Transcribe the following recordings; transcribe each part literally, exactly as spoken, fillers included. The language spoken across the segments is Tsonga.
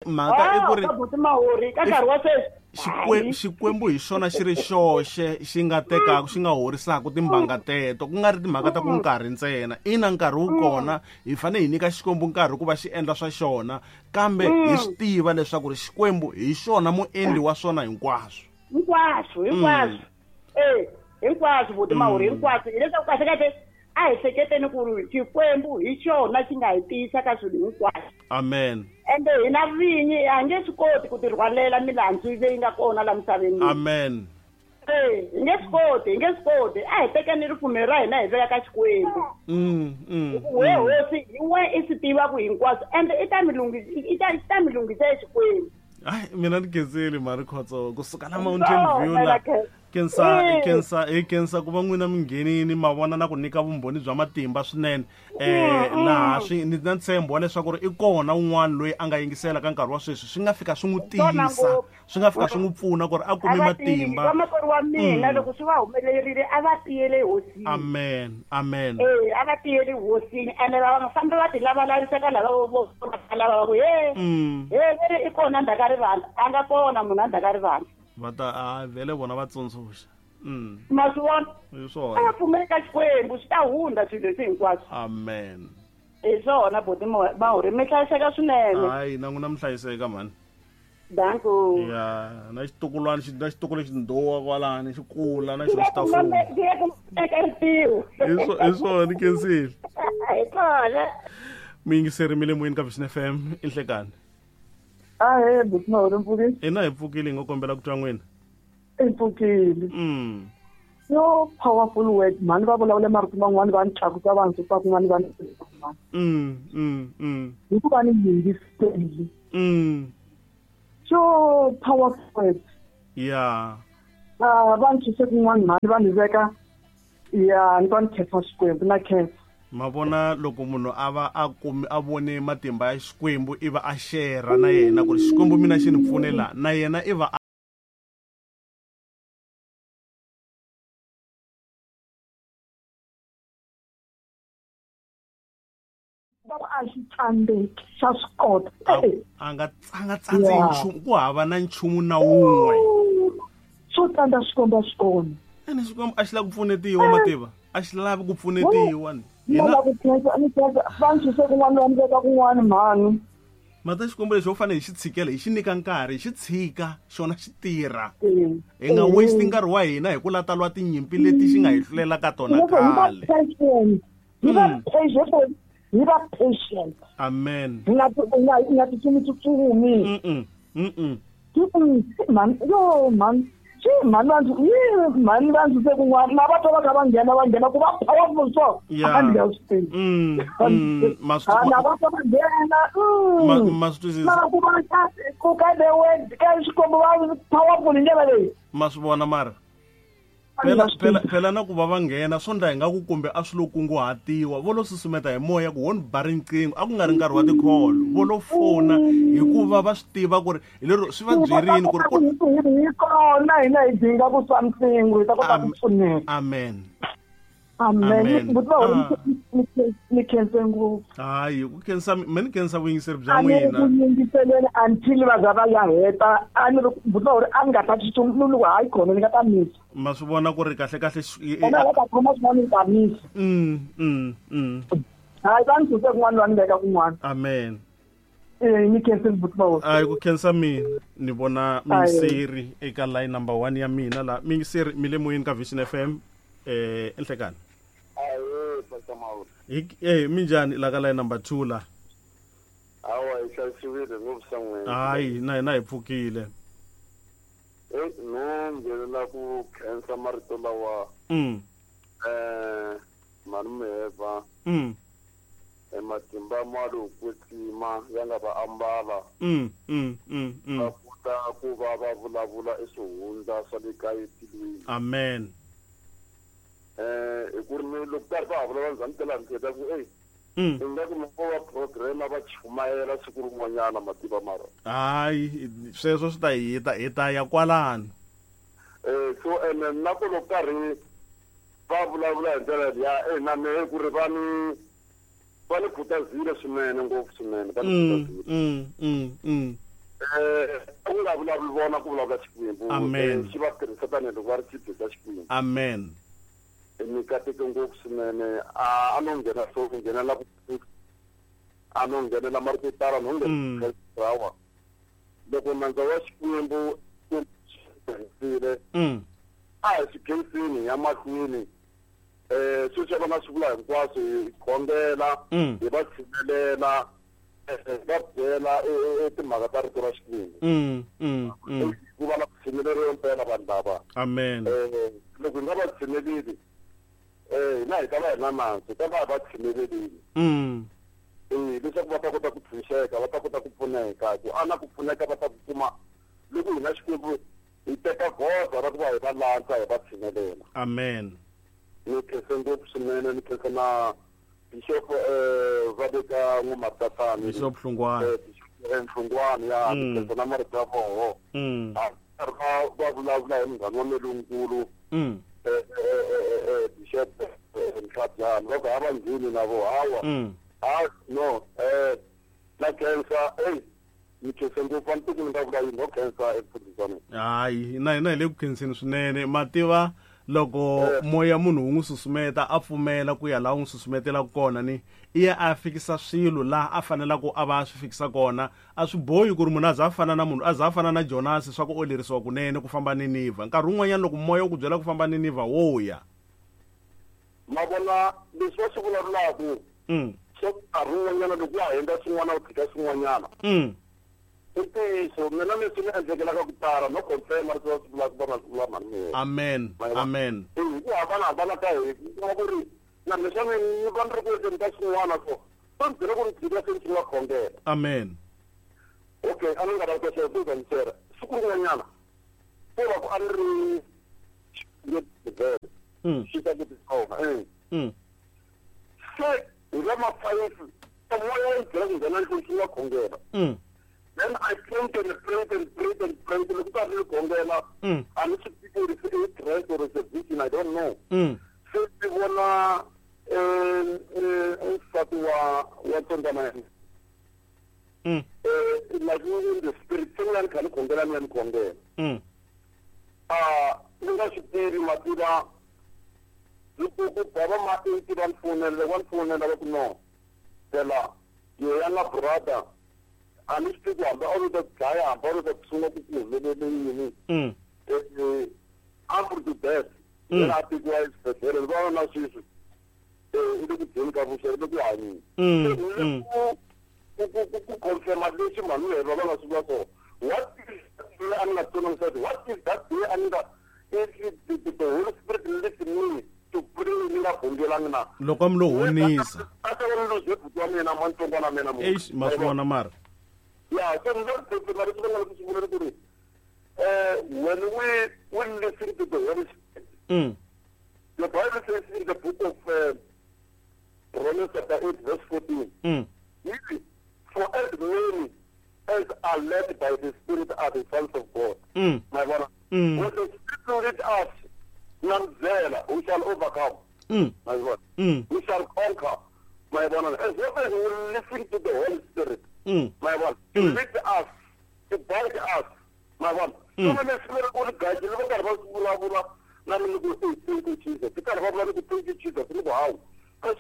Mhaka i ku ri buti Mahori ka nkarhi wa sweswi Xikwembu hi xona xi ri xoxe xi nga tekaka xi nga horisaka timbanga teto ku nga ri timhaka ta ku nkarhi ntsena. Ina nkarhi wu kona hi fanele hi nyika Xikwembu nkarhi ku va xi endla swa xona kambe hi swi tiva leswaku ri Xikwembu hi xona muendli wa swona hinkwaswo. Hinkwaswo hinkwaswo eh hinkwaswo buti Mahori hinkwaswo hileswaku kahle kahle a hi hleketeni ku ri Xikwembu hi xona xi nga hi tiyisa ka swilo hinkwaswo. Amen. Ende hina vinyi a nge swi koti ku tirhwalela milandzu leyi nga kona la misaveni. Amen. Eh, hi nge swi koti, hi nge swi koti. A hi tekeni ripfumelo ra hina hi veka ka Xikwembu. Mm, mm. We hosi hi we i swi tivaka hinkwaswo ende i ta mi lunghisa i ta i ta mi lunghisa Xikwembu. Ai mina ni khensile mari Khotso kusuka la Mountain View la. Kensa kensa hi kensa ku va n'wina mi nghenini ma vona na ku nyika vumbhoni bya matimba swinene eh laha swi ni na ntshembo wa leswaku ri i kona un'wana loyi a nga yingisela ka nkarhi wa sweswi swi nga fika swi n'wi tiyisa swi nga fika swi n'wi pfuna ku ri a kume matimba. Vamakwerhu wa mina loko swi va humelerile a va tiyele hosini. Amen amen. Eh a va tiyele hosini ene va nga fambi va ti lavalavisa ka lava vo lava va ku he he veri i kona ndzhaka rivala a nga kona munhu a ndzhaka rivala. Va ta a vele vona va tsundzuxa. Mm. Ma swi vona? Hi swona. A va pfumeli ka Xikwembu swi ta hundza swilo leswi hinkwaswo. Amen. Hi swona buti Mahori mi hlayiseka swinene. Hayi na n'wina mi hlayiseka mhani. Danko. Ya na xitukulwana xi na xitukulu xi ndhuwa kwalani xi kula na xona xi ta fuma. Hi hi swona ni khensile. Hi swona. Mi yingiseri mi le moyeni ka Vision F M i nhlekani. Ahe buti Mahori mpfukile. Ina hi pfukile hi ngo kombela ku twa n'wina. I pfukile. Mm. Yo powerful word mhani va vulavula marito man'wani va ni tlakusa va ndzi kun'wani va ni kun'wani. Mm mm mm. Hikuva ni yingiseli. Mm. So powerful word. Yeah. Ah va ni tshise kun'wani mhani va ni veka ya ni va ni khensa Xikwembu na khensa. Ma vona loko munhu a va a kumi a vone matimba ya Xikwembu i va a share na yena ku ri Xikwembu mina xi ni pfune la na yena i va a xi tsandzeki xa swi kota. A nga a nga tsandzi nchumu ku hava na nchumu na wun'we. Swo tsandza Xikwembu a swi kona. Ene Xikwembu a xi lava ku pfunetiwa mativa a xi lavi ku pfunetiwa. Hina ku khensa ni khensa va ndzi tshise kun'wana va ni veka kun'wana mhani. Mata Xikwembu lexi ho fanele hi xi tshikela hi xi nyika nkarhi hi xi tshika xona xi tirha. Hi nga waste nkarhi wa hina hi ku lata lwa tinyimpi leti xi nga hi hlulela ka tona khale. Hi va patient. Hi va patient. Amen. Hi nga hi nga tsutsumi. Mm mm. Man yo man xi mhani va ndzi yi mhani va ndzi se kun'wana na va twa va kha va nghena va nghena ku va powerful so a ndzi nga swi tivi. Mm ma swi na va twa va nghena ma swi twisisa mara ku va ku ka the word ka Xikwembu va powerful hi ndlela leyi. Ma swi vona mara phela phela phela na ku va va nghena swo ndla hi nga ku kumbe a swi lo kunguhatiwa vo lo susumeta hi moya ku ho ni ba riqingho a ku nga ri nkarhi wa tikholo vo lo fona hikuva va swi tiva ku ri hi lero swi va byerini ku ri hi kona hina hi dinga ku something hi ta kota ku pfuneka. Amen. Amen. Buti Mahori ni khense ngopfu. Hayi ku khensa me ni khensa vuyingiseri bya n'wina. A ni ku yingiselela until va za va ya heta a ni ri buti Mahori a ni nga ta tsutsuma ni ku hayi khona ni nga ta misa. Ma swi vona ku ri kahle kahle ena va ta khoma swin'wana ni ta misa. Mm mm mm. Hayi va ni suse kun'wana va ni veka kun'wana. Amen. Eh ni khense buti Mahori. Hayi ku khensa mina ni vona muyingiseri eka line number one ya mina la muyingiseri mi le moyeni ka Vision F M eh enhlekani. Ahe Pastor Mahori. Eh minjhani la ka line number two la. Awa hi hlayisiwile ngopfu san'wini. Hayi na hina hi pfukile. Eh no nghenelela ku khensa marito lawa. Mm. Eh mhani Mheva. Mm. E matimba ma lo kwetsima ya nga va ambala. Mm mm mm. Va kota ku va va vulavula eswihundla swa le kaya etilweni. Amen. Eh hi ku ri loko karhi va vulavula ndzhaku ka laha ni hleketa ku ey i nga ku loko va program va chumayela siku rin'wanyana mativa mara. Hayi sweswo swi ta hi ta hi ta ya kwalano. Eh so ene na ku loko karhi va vulavula hi ndlela liya eh na mehe ku ri va ni va ni khutazile swinene ngopfu swinene va ni khutazile. Mm mm mm. Eh ku nga vulavuli vona ku vulavula Xikwembu. Amen. Xi va tirhisa tanihiloko va ri xibye xa Xikwembu. Amen. Mi kateke ngopfu swinene a a no nghena so ku nghenela ku a no nghenela marito yo tala no nghena hawa loko nandza wa Xikwembu tirhisile a hi swi khensini ya mahlweni eh sweswi va nga swi vula hinkwaswo hi khongela hi va tshinelela va byela timhaka ta rito ra Xikwembu ku va na ku tshineleriwa mpela vanhu lava. Amen. Loko hi nga va tshineleli eh hina hi ta va hi na nandzu hi ta va hi va tshinelelile eh leswaku va ta kota ku tshunxeka va ta kota ku pfuneka ku ana ku pfuneka va ta ku kuma loko hina Xikwembu hi teka goza ra ku va hi va landza hi va tshinelela. Amen. Ni khensa ngopfu swinene ni khensa na Bishop eh va le ka N'wa-Matatani Bishop Hlungwani Hlungwani ya ni khensa na marito ya voho a va va vulavula hi munghana wa mina lonkulu eh Bishop Ntlhabyana va ku a va ngheni na vo hawa ha no eh na khensa eh ni khensa ngopfu a ni tivi ni nga vula yini no khensa emfundhisi. Hayi na hina hi le ku khenseni swinene mativa loko moya munhu wu n'wi susumeta a pfumela ku ya laha wu n'wi susumetelaka kona ni i ya a fikisa swilo laha a fanelaka a va a swi fikisa kona a swi bohi ku ri munhu a za a fana na munhu a za a fana na Jonasi swa ku olerisiwa kunene ku famba Ninivha nkarhi wun'wanyana loko moya wu ku byela ku famba Ninivha wo ya ma vona leswi va swi vulavulaka swo nkarhi wun'wanyana loko wa ha endla swin'wana u tshika swin'wanyana i ntiyiso mina leswi ni endlekelaka ku tala no confirm leswi va swi vulaka va nga swi vula mhani mina. Amen. Amen. Hi ku hambanahambana ka hi kuma ku ri na leswi ni va ni ri ku endleni ka swin'wana so va ni byela ku ni tshika se ni sungula khongela. Amen. Okay a ni nga lavi ku xera ku ni xera siku rin'wanyana ko va ku a ni ri xi ta ku tikhoma eh se hi la ma-five moya wu ni byela ku nghena ndlwini sungula khongela. Then I prayed and prayed and prayed and prayed. Look at the khongela. And it's people it's a trance or it's a vision, I don't know. So they wanna eh eh wa wa tsondana. Eh like in the spirit singlan kan khongela ni khongela. Ah ni nga swi tivi mativa loko ku bava ma eight va ni fonela va ni fonela va ku no. Phela yena brother a ni swi tivi ku hambi a ro ta dlaya hambi a ro ta sungula ku ku humelele yini ample to death yena a tekiwa exibedhlele ni vona na sweswi i le ku dyeni ka vuxa i le ku hanyeni ku ku confirma leswi mhani va va nga swi vula swona what is a ni nga tsonangisati what is that day a ni nga if the, the Holy Spirit lifts me to pray ni nga khongelangi na loko a mi lo honisa a ta va ni loze buti wa mina mantsongwana mina mo eish ma swi vona mara. Yeah, so not the uh, when we we listen to the Holy Spirit, mm. the Bible says in the book of uh, Romans chapter eight, verse fourteen, mm. for as many as are led by the Spirit are the sons of God. Mm. My brother, mm. when the Spirit leads us, we shall overcome. Mm. My brother, mm. we shall conquer. My brother, as long as we listen to the Holy Spirit. Mm. My one, to mm. lead us, to guide us, my one. Mm. So when the Spirit will guide you, look at what thank you, Jesus. Thank you, Jesus. Look how. Mm.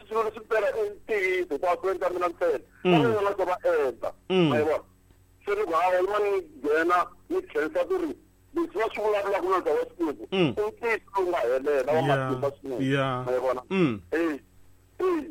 Mm. Yeah. Yeah. Mm. Mm.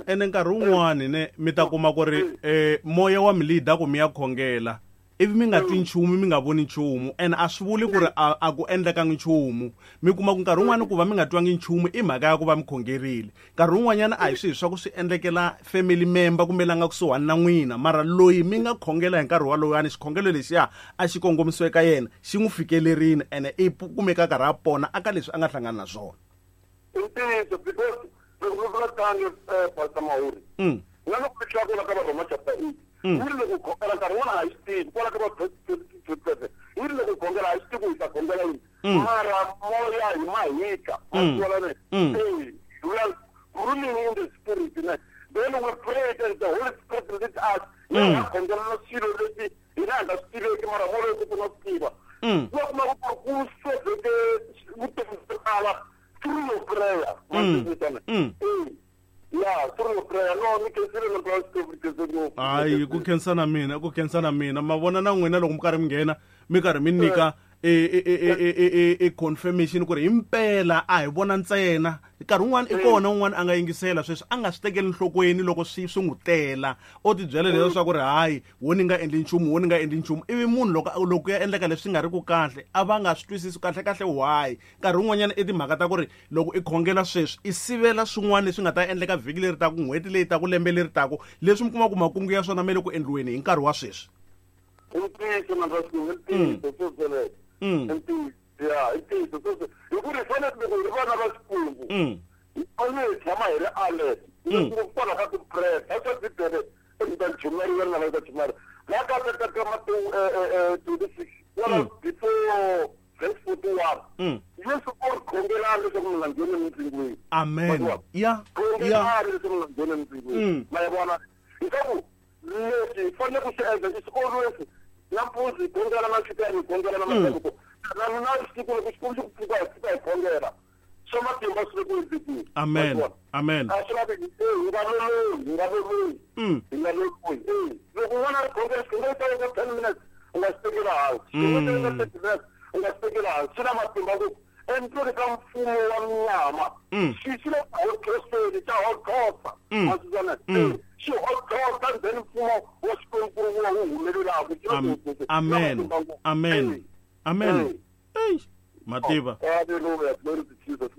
Ene nkarhi wun'wani ne mi ta kuma ku ri eh moya wa mi leader ku mi ya khongela ivi mi nga twi nchumu mi nga voni nchumu ene a swi vuli ku ri a ku endlekangi nchumu mi kuma ku nkarhi wun'wani ku va mi nga twangi nchumu i mhaka ya ku va mi khongerile nkarhi wun'wanyana a hi swihi swa ku swi endlekela family member kumbe la nga kusuhani na n'wina mara loyi mi nga khongela hi nkarhi walowani xikhongelo lexiya a xi kongomisiwe ka yena xi n'wi fikelerile ene i kumeka karhi a pona aka leswi a nga hlangana na swona. Ntiyiso because loko mi vula tani Pastor Mahuri Mm. na loko mi tlakula ka Varhoma chapter eight Yi ri loko khongela nkarhi wun'wana a hi swi tivi kwala ka va yi ri loko khongela a hi swi tivi ku hi ta khongela yini mara moya hi mahika ma eh we are ruling in the spirit ne then we pray and the Holy Spirit leads us ya khongela na swilo leswi hina hi nga swi tiveki mara moya ku na swi tiva loko ma ku ku soveke vutomi byo tala through your prayer mm. Yeah, through your prayer. No, ni khensile na ngopfu. Hayi, ku khensa na mina, ku khensa na mina. Ma vona na n'wina loko mi karhi mi nghena, mi karhi mi nyika e e e e e confirmation ku ri himpela a hi vona ntsena. Nkarhi wun'wana i kona un'wana a nga yingisela sweswi a nga swi tekeli nhlokweni loko swi swi n'wi tela. O tibyela leswaku ri hayi, wo ni nga endli nchumu, wo ni nga endli nchumu. Ivi munhu loko loko ya endleka leswi nga ri ku kahle, a va nga swi twisisi kahle kahle why. Nkarhi wun'wanyana i timhaka ta ku ri loko i khongela sweswi i sivela swin'wana leswi nga ta endleka vhiki leri taku, n'hweti leyi taku, lembe leri taku, leswi mi kuma ku makungu ya swona ma le ku endliweni hi nkarhi wa sweswi. I ntiyiso na swa ntiyiso sweswo. Mm. Yeah, it is. Hi ku ri fanele loko hi ri vana va Xikwembu hi fanele hi tshama hi ri alert ngopfu kwala ka ti-prayer a swa Bibele ni ta chumayela na va ta chumayela la ka ka ka Matewu twenty-six wala before verse forty-one Yesu u ri khongelani leswaku mi nga ngheni emindzingweni. Amen. Ya khongelani leswaku mi nga ngheni emindzingweni. Ma vona leswaku leswi hi fanele ku swi endla is always nampundzu hi khongela na nhlikani hi khongela na madyambu na na siku loko Xikwembu xi ku pfuka hi pfuka hi khongela swa matimba swi le ku endlekeni. Amen. Amen. A swi lavi hi nga lolohi, hi nga lolohi, hi nga lolohi. Loko un'wana a ri khongela xikhongelo xa yena ten minutes u nga xi tekela hansi, xikhongelo xa yena thirty minutes u nga xi tekela hansi. Swi na matimba ngopfu endleni ka mfumo wa nyama xi xi le ku hotloseni xa hotlosa ma swi vona xi hotlosa then mfumo wa Xikwembu wu humelelaka. Amen. Amen. Amen. Hey, mativa. Hallelujah, glory to Jesus.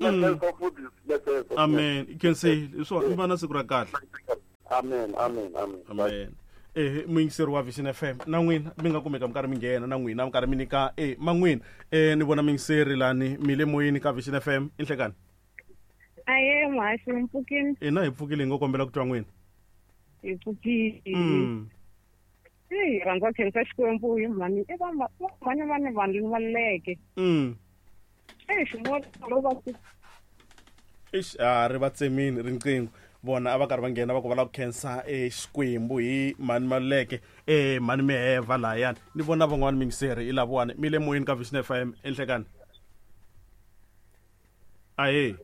Amen. You can say so i va na siku ra kahle. Amen, amen, amen. Amen. Eh muyingiseri wa Vision F M na n'wina mi nga kumeka mi karhi mi nghena na n'wina mi karhi mi nyika eh man'wina eh ni vona muyingiseri lani mi le moyeni ka Vision F M inhlekani. Aye, muhaxi mi pfukile. Ina hi pfukile hi ngo kombela ku twa n'wina. Hi pfukile. Hey, rhandza khensa Xikwembu hi mhani i va mhani va ni vanhu va leke. Mm. Eh xin'wana lo va ku Eish, a ri va tsemini riqingho vona a va karhi va nghena va ku va lava ku khensa Xikwembu hi mhani Maluleke eh mhani Miheva lahayani ni vona van'wani mingiseri hi lavawani mi le moyeni ka Vision F M enhlekani. Ahe.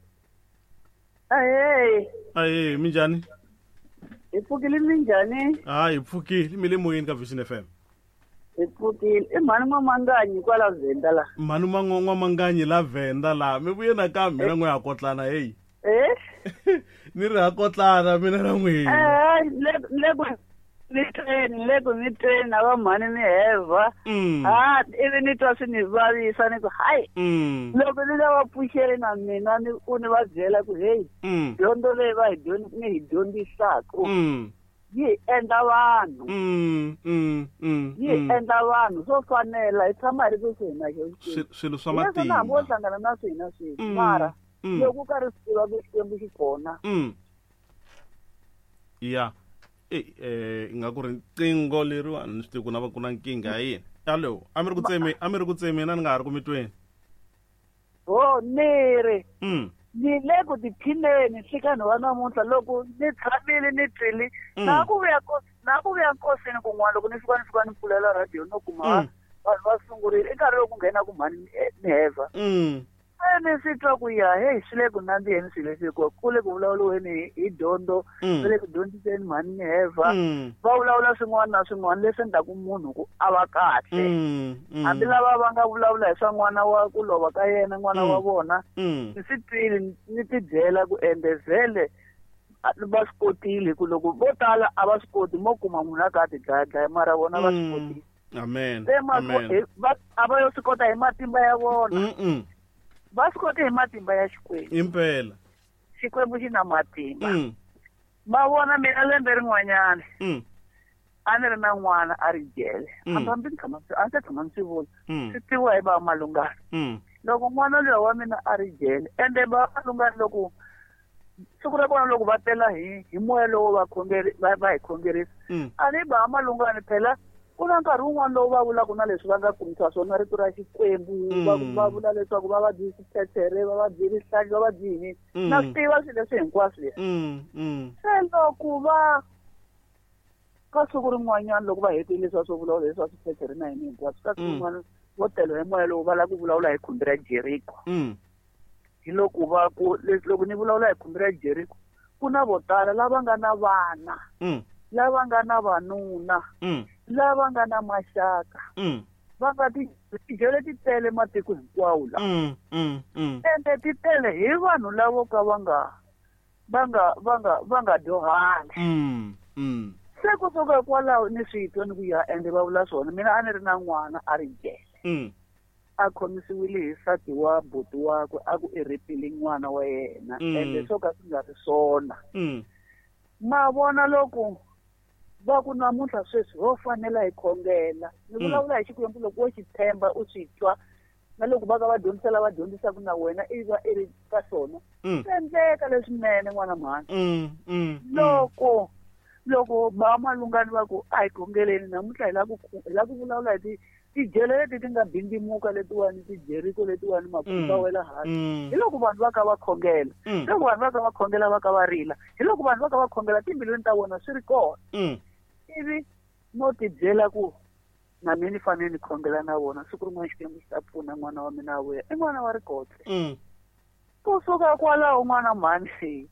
Ahe. Ahe, minjhani? Hi pfukile minjhani? Ah, hi pfukile mi le moyeni ka Vision F M. Hi pfukile i mhani N'wamanganyi kwala Venda la. Mhani N'wamanganyi la Venda la mi vuye nakambe mina n'we ha kotlana hey. Eh? Ni ri ha kotlana mina na n'wina. Eh, le le ku ni tweni le ku ni tweni na va mhani Miheva. Ah, ivi ni twa swi ni vavisa ni ku hayi. Loko ni lava pfuxele na mina ni u ni va byela ku hey, dyondzo leyi va hi ni hi dyondzisaka yi endla vanhu. Yi endla vanhu swo fanela hi tshama hi ri kusuhi na xona. Swilo swa matimba. Leswi na hambi wo hlangana na swina sweswi mara loko u karhi swi tiva ku Xikwembu xi kona. Ya. Eh eh nga ku ri riqingho leriwani ni swi tivi ku na va ku na nkingha ya yini. Allo, a mi ri ku tsemi, a mi ri ku tsemi na ni nga ha ri ku mi tweni. Oh, ni ri. Ni le ku tiphineni nhlikani wa namuntlha loko ni tshamile ni twile na ku vuya na ku vuya nkosini kun'wana loko ni fika ni fika ni pfulela radio no kuma vanhu va sungurile i nkarhi lowu ku nghena ku mhani Miheva. Se ni swi twa ku ya hey swi le ku nandziheni swilo leswi hikuva ku le ku vulavuriweni hi dyondzo swi le ku dyondziseni mhani Miheva va vulavula swin'wana na swin'wana leswi endlaku munhu ku a va kahle hambi lava va nga vulavula hi swa n'wana wa ku lova ka yena n'wana wa vona ni swi twile ni tibyela ku ende vhele va swi kotile hi ku loko vo tala a va swi koti mo kuma munhu a ka a ti dlayadlaya mara vona va swi kotile. Amen. Amen. A va yo swi kota hi matimba ya vona. Va swi kote hi matimba ya Xikwembu. Impela. Xikwembu xi na matimba. Ma vona mina lembe rin'wanyana. A ni ri na n'wana a ri jele. Hambi ni tshama a ndzi tshama ni swi vula. Swi tiviwa hi va Malungana. Loko n'wana luya wa mina a ri jele ende va Malungana loko Siku ra kona loko va tela hi hi moya lowu va khongeri va va hi khongerisa a ni ba malungani phela ku na nkarhi wun'wana lowu va vulaka na leswi va nga kumisa swona rito ra Xikwembu va va vula leswaku va va byi swiphethere va va byi rihlahla va va byi yini na swi tiva swilo leswi hinkwaswo leswi se loko va ka siku rin'wanyana loko va hetile leswi swo vulavula leswi swa swiphethere na yini hinkwaswo ka siku rin'wana vo tela hi moya lowu va lava ku vulavula hi khumbi ra Jeriko hi loko va ku loko ni vulavula hi khumbi ra Jeriko ku na vo tala lava nga na vana lava nga na vanuna lava nga na maxaka va nga tijele ti tele matiko hinkwawo la ende ti tele hi vanhu lavo ka va nga va nga va nga va nga dyohanga se kusuka kwalaho ni swi twa ni ku ya ende va vula swona mina a ni ri na n'wana a ri jele a khomisiwile hi nsati wa buti wakwe a ku i rhepile n'wana wa yena ende swo ka swi nga ri swona ma vona loko va ku namuntlha sweswi ho fanela hi khongela ni vulavula hi Xikwembu loko wo xi tshemba u swi twa na loko va ka va dyondzisa lava dyondzisaka na wena i va i ri ka swona swi endleka leswinene n'wana mhani loko loko ba malungani va ku a hi khongeleni namuntlha hi lava ku hi lava ku vulavula hi ti tijele leti ti nga bindimuka letiwani tijeriko letiwani makhumba wela hansi hi loko vanhu va ka va khongela loko vanhu va ka va khongela va ka va rila hi loko vanhu va ka va khongela timbilwini ta vona swi ri kona ivi no tibyela ku na mina ni fanele ni khongela na vona siku rin'wana Xikwembu xi ta pfuna n'wana wa mina a vuya i n'wana wa rikotse kusuka kwalaho n'wana mhani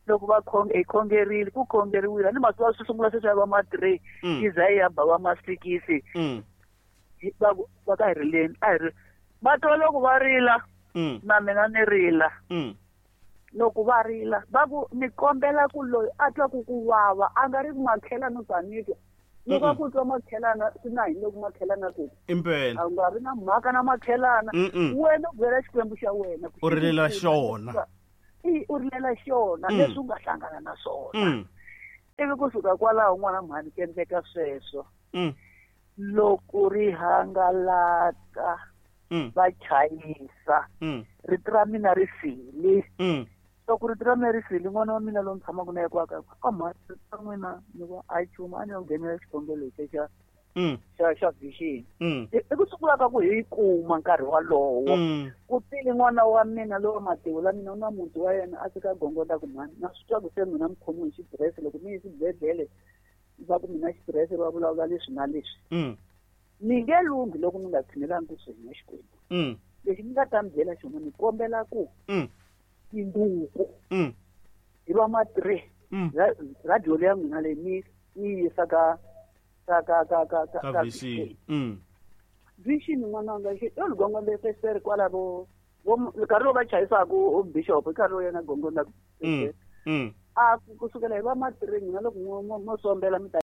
loko va hi khongerile ku khongeriwile ni masiku swi sungula sweswi ya va ma three yi za yi ya ba va ma sikisi va va ka hi rileni a hi ri va twa loko va rila na mina ni rila loko va rila va ku ni kombela ku loyi a twaku ku vava a nga ri ku makhelana u ta ni twa loko a ku twa makhelana swi na yini loko makhelana ku impela a nga ri na mhaka na makhelana wena u byela Xikwembu xa wena u rilela xona i u rilela xona leswi u nga hlangana na swona ivi kusuka kwalaho n'wana mhani ku endleka sweswo loko ri hangalaka va chayisa rito ra mina ri file loko rito ra mina ri file n'wana wa mina lowu ni tshamaka na yena kwaka ka mhani rito ra n'wina ni va a chuma a ni yo nghenela xikhongelo lexi xa xa xa vision i ku sungula ka ku hi kuma nkarhi walowo ku tile n'wana wa mina lowa mativula mina u na muti wa yena a fika gongonda ku mhani na swi twa ku se mina mi khomiwe hi xitirese loko mi yi xibedhlele va ku mina xitirese va vulavula leswi na leswi ni nge lunghi loko mi nga tshinelangi kusuhi na Xikwembu lexi ni nga ta mi byela xona ni kombela ku tinduku hi va ma three radio leya n'wina leyi mi mi yisa ka ka ka ka ka ka ka vision vision n'wana wanga xi yo gongonda fesere kwalavo vo nkarhi lowu va chayisaku bishop i nkarhi lowu yena gongonda a kusukela hi va ma three n'wina loko mo sombela mi ta